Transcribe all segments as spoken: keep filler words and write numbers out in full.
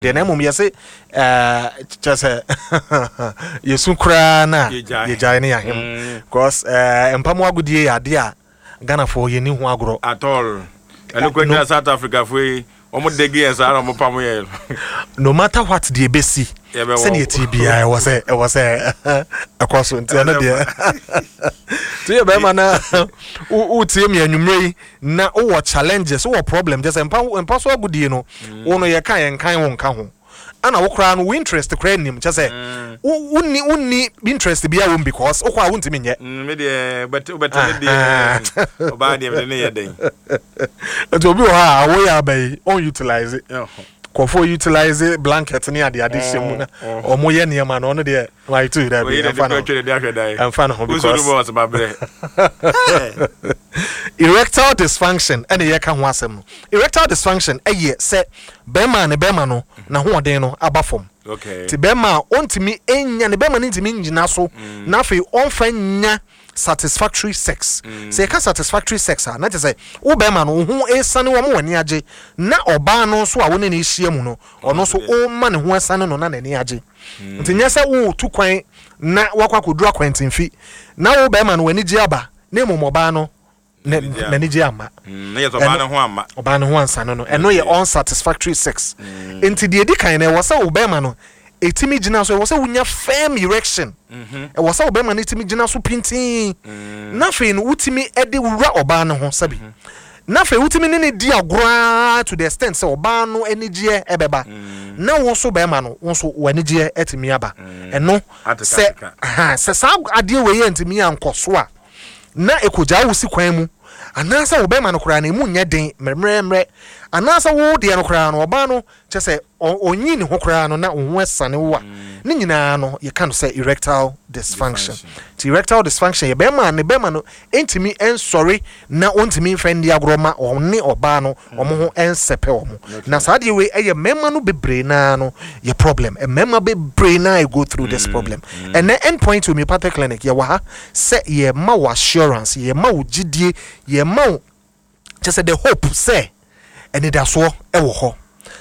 Deɛ na mmom yɛse kyerɛ sɛ yɛsu koraa no a yɛgyae ne yɛahem mm. Because mpa mu agodie yɛ adeɛ a Ghanafoɔ yɛni ho agorɔ. At all. Ɛno kora gyina South Africa foɔ yi, wɔn dege yɛ saa na wɔn pam yɛ. No matter what deɛ ɛbɛsi, sɛdeɛ ɛtie biara, ɛwɔ sɛ ɛwɔ sɛ ɛkɔ so. Nti ɛno deɛ, nti yɛ bɛrima na wotie mi anwummerɛ yi na wowɔ challenges, wowɔ problem, kyɛ sɛ mpa mpa so agodie no, wo no yɛka yɛnkan wo nka ho ana wo koraa no wo interest koraa nim, kyɛ sɛ wonni wonni interest biara wɔ mu because wokɔ a wontumi nyɛ. Me deɛ, wobɛtɛ ne deɛ, ɔbaa deɛ mede ne yɛ den. Nti obi wɔ hɔ a awoyɛ aba yi ɔn utilize kɔfoɔ, utilize blanket ne ade ade hyɛ mu na ɔmo yɛ nneɛma no, ɔno deɛ wayɛ dɛ bi ɛmfa no ɛmfa no ho because erectile dysfunction ɛna yɛka ho asɛm no. Erectile dysfunction ɛyɛ sɛ bɛrima ne bɛrima no n'ahoɔden no aba fam, nti bɛrima a ɔntumi nya ne bɛrima no ntumi ngyina so na afei ɔnfa nya satisfactory sex. Sɛ yɛka satisfactory sex a, na kyerɛ sɛ wo bɛrima no wo ho esane wɔn wɔ ani agye, na ɔbaa no nso a wo ne no ahyia mu no, ɔno nso ɔma ne ho ɛsane no na n'ani agye. Nti nyɛ sɛ wotu kwan na wakɔ akɔduru akwantemfi na wo bɛrima no w'ani gye aba, na mmom ɔbaa no n'ani gye ama. Ɔbaa no ho ansane no, ɛno yɛ unsatisfactory sex. Nti deɛ edi kan no, ɛwɔ sɛ wo bɛrima no ɛtumi gyina so, ɛwɔ sɛ wonya firm erection, ɛwɔ sɛ wo bɛrima no ɛtumi gyina so pintin, na afei no wotumi ɛde wura ɔbaa no ho sɛbi, na afei wotumi ne ne di agorɔ to the extent sɛ ɔbaa no anigyeɛ ɛbɛba, na wo nso bɛrima no, wo nso w'anigyeɛ ɛtumi aba. Ɛno sɛ sɛ saa adeɛ wei yɛ ntumi ankɔ so a, na ekogyaa wo si kwan mu, anaasɛ wo bɛrima no koraa no emu nyɛ den mmerɛmmerɛ, anaasɛ wo deɛ no koraa no ɔbaa no kyɛ sɛ ɔnyi ne ho koraa no na wo ho ɛsane wo a, ne nyinaa no yɛka no sɛ erectile dysfunction. Nti erectile dysfunction yɛ bɛrima a ne bɛrima no ntumi nsɔre na ɔntumi mfɛ ndi agorɔ ma ɔne ɔbaa no ɔmo ho nsɛpɛ ɔmo. Na saa adeɛ wei ɛyɛ mmarima no bebree naa no yɛ problem. Mmarima bebree naa go through this problem. Ɛnɛ Endpoint Homeopathic Clinic yɛwɔ ha sɛ yɛma wo assurance, yɛma wo gyidie, yɛma wo kyɛ sɛ the hope sɛ anidasoɔ ɛwɔ hɔ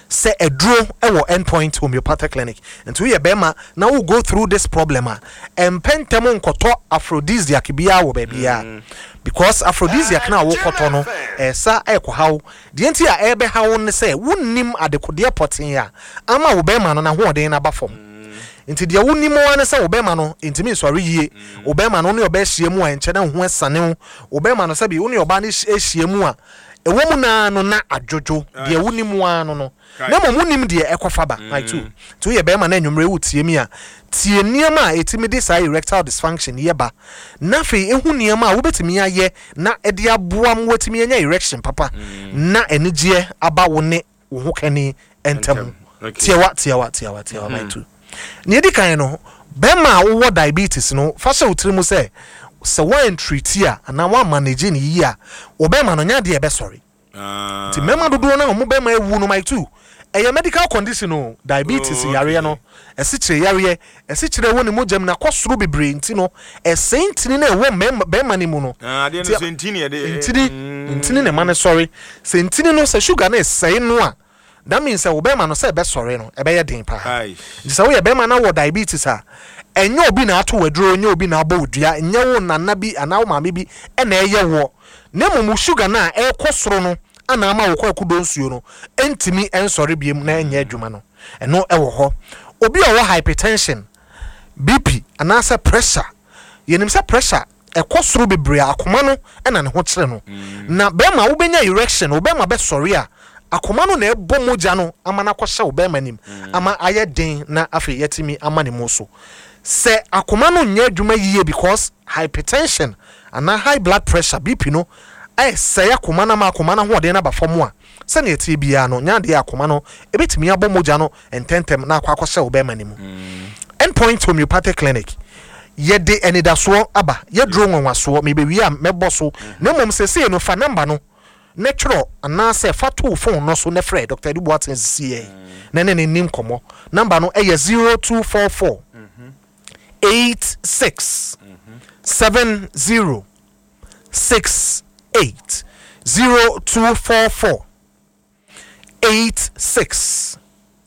sɛ ɛduro ɛwɔ Endpoint Homeopathic Clinic. Nti woyɛ bɛrima na wo go through this problem a, ɛmpɛ ntɛm nkɔtɔ aphrodisiac biara wɔ baabiara, because aphrodisiac na wokɔtɔ no ɛsa ɛkɔhaw. Deɛ nti a ɛbɛhaw ne sɛ wonnim adekodeɛ pɔtee a ama wo bɛrima no n'ahoɔden no aba fam. Nti deɛ wonim ara ne sɛ wo bɛrima no ntumi nsɔre yie, wo bɛrima no wo ne ɔbaa ahyia mu a nkyɛn na wo ho ɛsane wo, wo bɛrima no sɛbi wo ne ɔbaa no ahyia mu a ɛwɔ mu naa no na adwodwo. Deɛ wonim ara no no na mmom wonim deɛ ɛkɔfa ba my two. Nti woyɛ bɛrima na anwummerɛ wotie mi a, tie nneɛma a ɛtumi de saa erectile dysfunction yɛ ba, na afei ehu nneɛma a wobɛtumi ayɛ na ɛde aboa mu watumi anya erection papa na anigyeɛ aba wo ne wo ho kani ntam. Tiawa tiawa tiawa tiawa, my two. Nea edi kan no, bɛrima a wowɔ diabetes no, fa hyɛ wo tiri mu sɛ sɛ woan treat a anaa woan manage ne yie a, wo bɛrima no nyɛ adeɛ ɛbɛsɔre. Nti mmarima dodoɔ no a wɔn bɛrima awu no, my two, ɛyɛ medical condition o. Diabetes Oh, yareɛ no, ɛsikyire yareɛ, ɛsikyire ɛwɔ ne mogya mu na kɔ soro bebree, nti no ɛsɛn ntini na ɛwɔ mmarima bɛrima no mu no. Adeɛ no Nti- sɛ ntini yɛde ntini ntini na ɛma no sɔre. Sɛ ntini no sɛ sugar no ɛsɛe no a, that means sɛ wo bɛrima no sɛ ɛbɛsɔre no ɛbɛyɛ den paa. Ai. Nti sɛ woyɛ bɛrima na wɔ diabetes a, ɛnyɛ obi na ato w'aduro, ɛnyɛ obi na abɔ wo dua, ɛnyɛ wo nana bi anaa wo maame bi ɛna ɛyɛ woɔ, na mmom wo sugar no a ɛrekɔ soro no ana ama wo kɔ ɛkodo nsuo no ɛntumi ɛnsɔre biem na ɛnyɛ adwuma no. Ɛno ɛwɔ hɔ. Obi a ɔwɔ hypertension, B P anaasɛ pressure, yɛnim sɛ pressure ɛkɔ soro bebree a, akoma no ɛna ne ho kyerɛ no. Na bɛrima wobɛnya erection, wo bɛrima bɛsɔre a, akoma no na ɛbɔ mogya no ama no akɔhyɛ wo bɛrima nim ama ayɛ den na afei yɛtumi ama ne mu so. Sɛ akoma no nyɛ adwuma yie because hypertension anaa high blood pressure, B P no ɛsɛe akoma no ama akoma no ahoɔden no aba fam a, sɛnea ɛteɛ biara no nyɛ adeɛ a akoma no ɛbɛtumi abɔ mogya no ntɛntɛm na akɔ akɔhyɛ wo bɛrima no mu. Endpoint Homeopathic Clinic, yɛde anidasoɔ aba, yɛduro nwanwasoɔ mebɛwie a mɛbɔ so. Na mmom sesei no, fa number no ne twerɛ anaasɛ fa to wo phone no so ne frɛ Doctor Adu Boateng sisiɛ na ne ne ni nkɔmmɔ. Number no ɛyɛ zero two four four eight six seven zero six eight, zero two four four eight six